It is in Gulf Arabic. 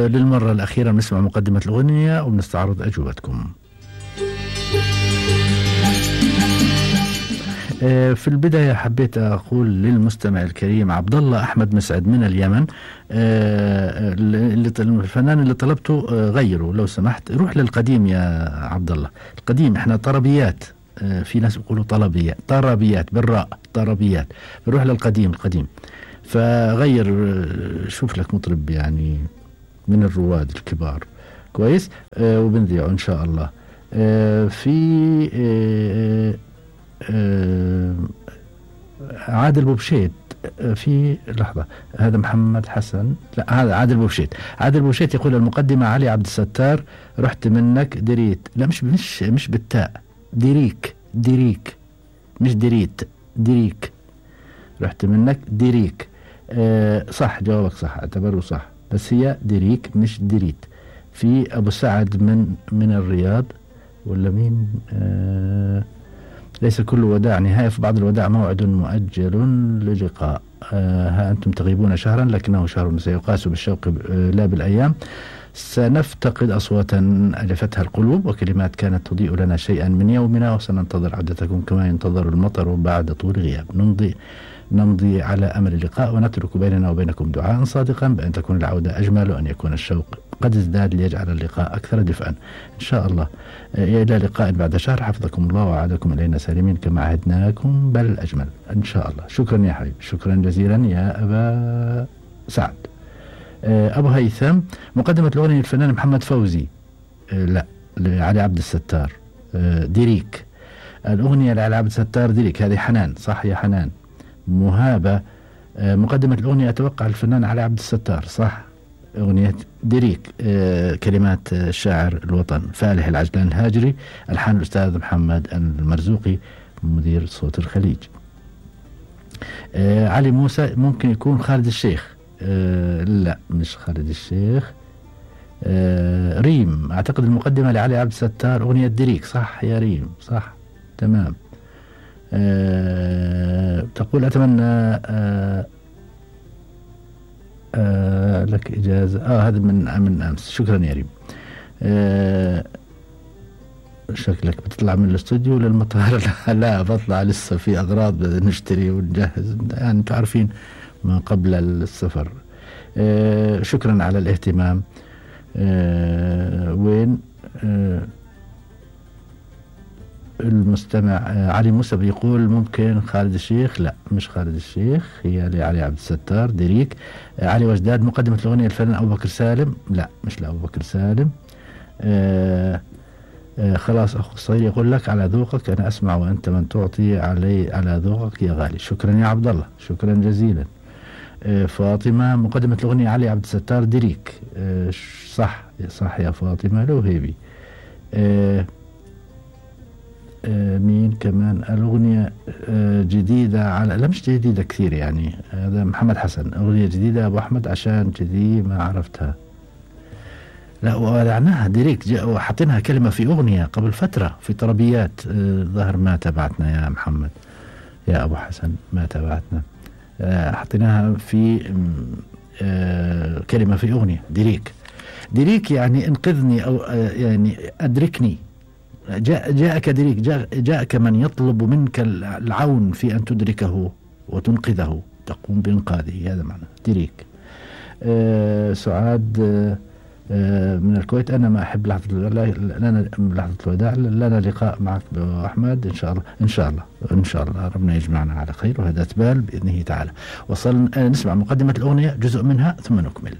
للمرة الأخيرة نسمع مقدمة الأغنية ونستعرض أجوبتكم. في البداية حبيت أقول للمستمع الكريم عبد الله أحمد مسعد من اليمن، الفنان اللي طلبته غيره لو سمحت، روح للقديم يا عبد الله. القديم احنا طربيات، في ناس يقولوا طربيات بالراء، طربيات، روح للقديم القديم. فغير، شوف لك مطرب يعني من الرواد الكبار كويس، وبنذيعه إن شاء الله. في عادل بوبشيت، في لحظة، هذا محمد حسن، لا هذا عادل بوبشيت. عادل بوبشيت يقول المقدمة علي عبد الستار رحت منك دريت، لا مش بالتاء، ديريك مش دريت، ديريك، رحت منك ديريك. صح، جوابك صح، اعتبره صح، بس هي ديريك مش دريت. في أبو سعد من الرياض، ولا مين؟ ليس كل وداع نهاية، في بعض الوداع موعد مؤجل للقاء. ها أنتم تغيبون شهرا لكنه شهر سيقاس بالشوق لا بالأيام. سنفتقد أصواتا ألفتها القلوب وكلمات كانت تضيء لنا شيئا من يومنا، وسننتظر عودتكم كما ينتظر المطر بعد طول غياب. نمضي على أمل اللقاء ونترك بيننا وبينكم دعاء صادقا بأن تكون العودة أجمل وأن يكون الشوق قد ازداد ليجعل اللقاء أكثر دفئا إن شاء الله. إلى لقاء بعد شهر، حفظكم الله وعادكم إلينا سالمين كما عهدناكم بل أجمل إن شاء الله. شكرا يا حبيب، شكرا جزيلا يا أبا سعد. أبو هيثم، مقدمة الأغنية الفنان محمد فوزي، لا لعلي عبد الستار، ديريك. الأغنية لعلي عبد الستار ديريك، هذه حنان، صح يا حنان. مهابة، مقدمة الأغنية أتوقع الفنان علي عبد الستار، صح. أغنية ديريك، كلمات الشاعر الوطن فالح العجلان الهاجري، ألحان الأستاذ محمد المرزوقي مدير صوت الخليج. علي موسى، ممكن يكون خالد الشيخ، لا مش خالد الشيخ. ريم، أعتقد المقدمة لعلي عبد الستار أغنية ديريك، صح يا ريم، صح تمام. تقول أتمنى لك إجازة، هذا من أمس، شكرا يا ريم. شكلك بتطلع من الاستوديو للمطار. لا بطلع، لسه في أغراض بدنا نشتري ونجهز، يعني أنتم عارفين ما قبل السفر. شكرا على الاهتمام. وين المستمع علي موسى بيقول ممكن خالد الشيخ، لا مش خالد الشيخ، هي لعلي عبد الستار ديريك. علي وجداد، مقدمة الأغنية الفنان أبو بكر سالم، لا مش لأبو بكر سالم. خلاص أخو الصغير يقول لك على ذوقك أنا أسمع وأنت من تعطي على ذوقك يا غالي. شكرا يا عبد الله، شكرا جزيلا. فاطمة، مقدمة الأغنية علي عبد الستار ديريك، صح يا فاطمة الوهيبي. مين كمان؟ الأغنية جديدة على، لا مش جديدة كثير يعني، هذا محمد حسن، أغنية جديدة أبو أحمد عشان كذي ما عرفتها. لا وضعناها ديريك، وحطيناها كلمة في أغنية قبل فترة في طربيات، ظهر ما تبعتنا يا محمد يا أبو حسن، ما تبعتنا. حطيناها في كلمة في أغنية ديريك يعني انقذني أو يعني أدركني. جاءك ديريك، جاءك من يطلب منك العون في أن تدركه وتنقذه، تقوم بإنقاذه، هذا معنى ديريك. سعاد من الكويت، أنا ما أحب لحظة الوداع، لنا لقاء معك أحمد إن شاء الله ربنا يجمعنا على خير، وهذا تبال بإذنه تعالى. وصلنا نسمع مقدمة الأغنية جزء منها ثم نكمل.